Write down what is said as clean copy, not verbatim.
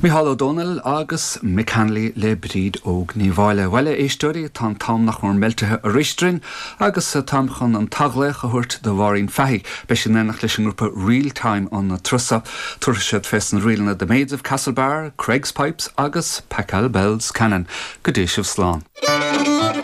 Mícheál Ó Domhnaill agus Mick Hanley le Bríd Óg Ní Mháille. Bhuel, a éisteoirí, tá an t-am nach mór meiltithe arís orainn agus táim chun an t-athghlaoch a thabhairt do Mháirín Fahey. Beidh sí in éineacht leis an ngrúpa Reel Time an turas seo. Tabharfaidh siad fés na ríleanna The Maids of Castlebar, Creggs Pipes agus Pachelbel's Canon. Go dté sibh slán.